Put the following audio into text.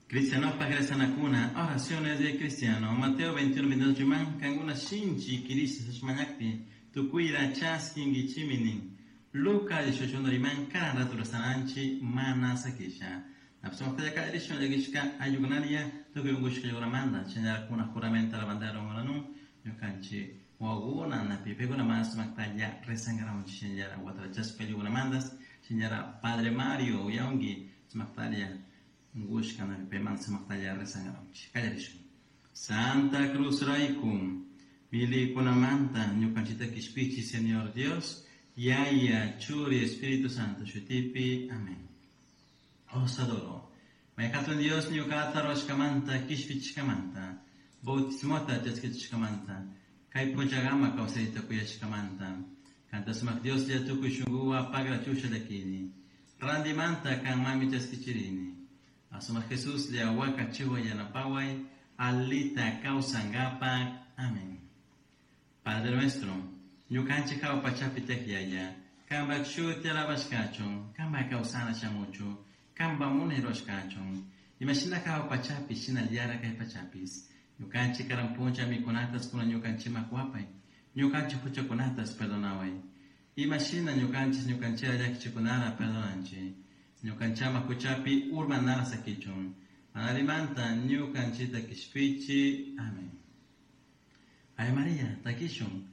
Cristianopaj rezanacuna, oraciones de cristiano. Mateo 21, 28 riman, cancuna shinchi quirisha mañajpi, tucuita chasquinguichimi nin. Lucas 18 riman, cada rato rezananchi mana saquisha. Napsumaqtalla kallarishun llakishka ayllukunaria tukuy unkushka ayllukunamanta chaynalakuna juramento la bandera unkunanun ñukanchik wawakuna napi paykunamanta sumaqtalla rezankamunchik shinallara watarachashpa ayllukunamantas shinallara Padre Mario uyawanki sumaqtalla unkushka napi paymanta sumaqtalla rezankamunchik kallarishun. Santa Cruz rayku milikunamanta ñukanchikta kishpichi Señor Dios Yaya Churi Espíritu Santo shutipi. Amén. Os adoro. May hatun Dios ñuqata rurashkamanta kishpichishkamanta bautismota chaskichishkamanta kay punllakama kawsayta kuyashkamanta kanta sumak Dioslla tukuy shunkuwan pagrachusha llakini randimanta kanmanmi chaskichirini asumak Jesuslla wakachiway yanapaway alita kawsankapak. Amén. Padre nuestro, ñukanchik hawa pachapi tiyak Yaya, kanpak shuti alabashkachun, kanpak kawsana shamuchun, kanpak munay rurashkachun, imashina hawa pachapi shinallara kay pachapish. Ñukanchik karan punlla mikunatas kunan ñukanchikman kuwapay, ñukanchik huchakunatas perdonaway. Imashina ñukanchik ñukanchikta llakichikunata perdonanchik. Ñukanchik ama huchapi urmanara sakichun. Mana allimanta ñukanchikta kishpichi. Amén. Ave María, takishun.